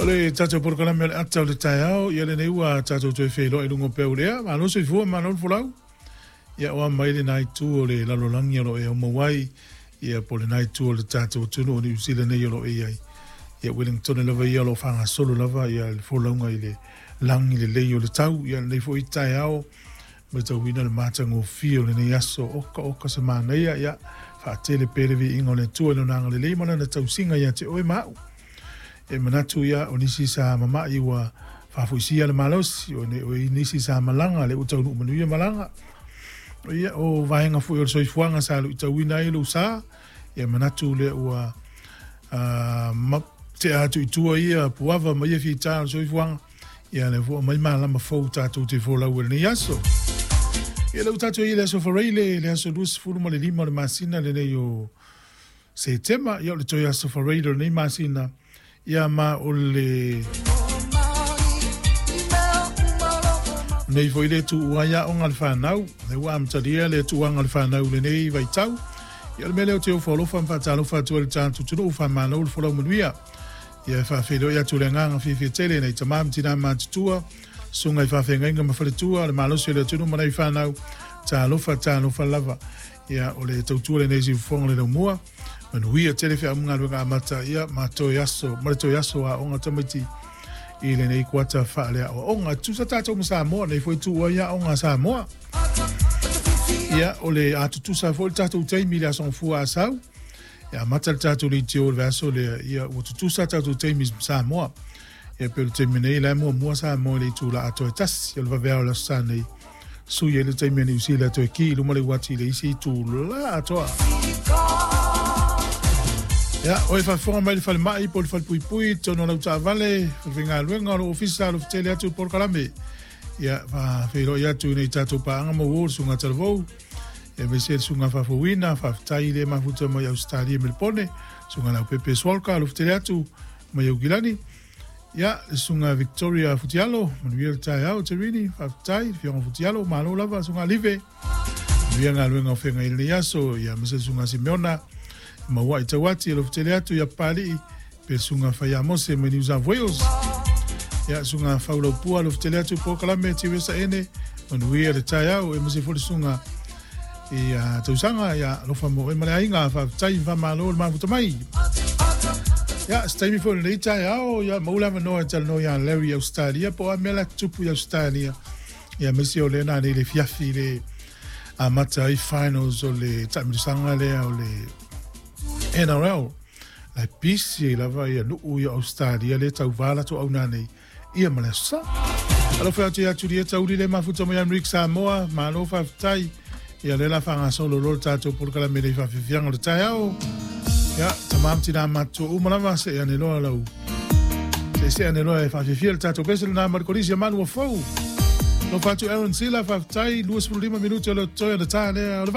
O le tatou polokalame o le ata o le taeao, ia lenei ua tatou toe feiloai i luga o peu lea. Malo soifua, malo le folau. Ia oa mai lena itu o le lalolagi o lo o e aumau ai, ia po o lena itu o le tatou atunuu o Niu Sila nei o lo o e i ai. Ia Wellington lava ia o lo o faagasolo lava ia le folauga i le lagi lelei o le tau. Ia lenei foi taeao, matauina le matagofie o lenei aso, oka oka se manaia, ia faatele pea le viiga o le Atua i lona agalelei ma lana tausiga ia te oe ma au. E manatu ia o nisi sa mama'i ua faafoisia le malosi, o nisi sa malaga lea ua taunuu manuia malaga. Ia o vaega foi o le soifuaga sa luitauina ai lou sa, ia manatu lea ua tea atu i tua ia puava ma ia fita o le soifuaga. Ia lea foi mai malama fou tatou te folau i lenei aso. Ia lea ua tatou i le aso Faraile, le aso 25 o le masina lenei o Setema, ia o le toe aso Faraile o lenei masina, ia ma o le nei foi le tuua ai aoga a le fanau, lea ua amatalia le tuuaga o le fanau i lenei vaitau. Ia o le mea lea ou te ofo alofa ma faatalofa atu ai i le tatou atunuu, faamalo le folau manuia. Ia e faafeiloai atu le agaga fiafia tele nei tama ma tina matutua, susuga i faafeagaiga ma faletua, le malosi o le atunuu ma nai fanau, talofa talofa lava. Ia o le tautua lenei siufofoga le laumua, manuia tele feau ma galuega amata ia ma toe aso, ma le toe aso aoga tamaiti i lenei kuata faaleaoaoga. Tusa tatou ma Samoa, nei foi tuua ai aoga a Samoa. Ia o le a tutusa foi le tatou taimi i le aso Gafua a sau. E amata le tatou leitio i le vaiaso lea, ia ua tutusa tatou taimi ma Samoa. Ia pei o le taimi nei, la e muamua Samoa i le itula atoa e tasi o le vaveao o le Aso Sa nei, sui ai le taimi a Niu Sila toe ki i luma le uati i le isi itula atoa. Ia, oe faafofoga mai le falemai po o le falepuipui, totonu o lau taavale, falefaigaluega, o lou ofisa, alofetele atu i le polokalame. Ia, faafeiloai atu i nei tatou paaga mauō, le Susuga Talavou, aemaise le Susuga Faafouina, faafetai i le mafuta mai Ausetalia Melepone, Susuga Leaupepe Swalka, alofetele atu mai Aukilani. Ia, le Susuga Victoria Futialo, manuia le taeao, Terini, faafetai, le Afioga Futialo, malo lava, Susuga Alive, manuia galuega o feagai i lenei aso, ia, aemaise le Susuga Simeona, Mauai Tauati, alofetele atu ia Papalii, pe Susuga Faiamose mai New South Wales. Ia, Susuga Faulaupua, alofetele atu polokalame Tiresa Ene, manuia le taeao, aemaise foi le Susuga i tausaga, ia, alofa mo oe ma le aiga, faafetai, faamalo le mafuta mai. Ia, se taimi foi o lenei taeao, ia, maua le avanoa e talanoa ia Larry i Australia, po o a mea la tutupu i Australia, ia, aemaise o lea na nei le fiafi le amata ai finals o le taamilosaga lea o le NRL. La e pisi ai lava ia nuu i Australia le tauva latou auna nei ia ma le aso Sa. Alofa atu ia Julieta Uli le mafuta mai Amerika Samoa, malo faafetai. Ia lea la faagasolo loa le tatou polokalame nei faafiafiaga o le taeao. Ia, tama ma tina matutua uma lava, see ane loa lau see ane loa e faafiafia le tatou pese lena ma le kolisi a Manu o Fou. Alofa atu Aaron Sila, faafetai, 25 minute o le totoe o le ta lea o le.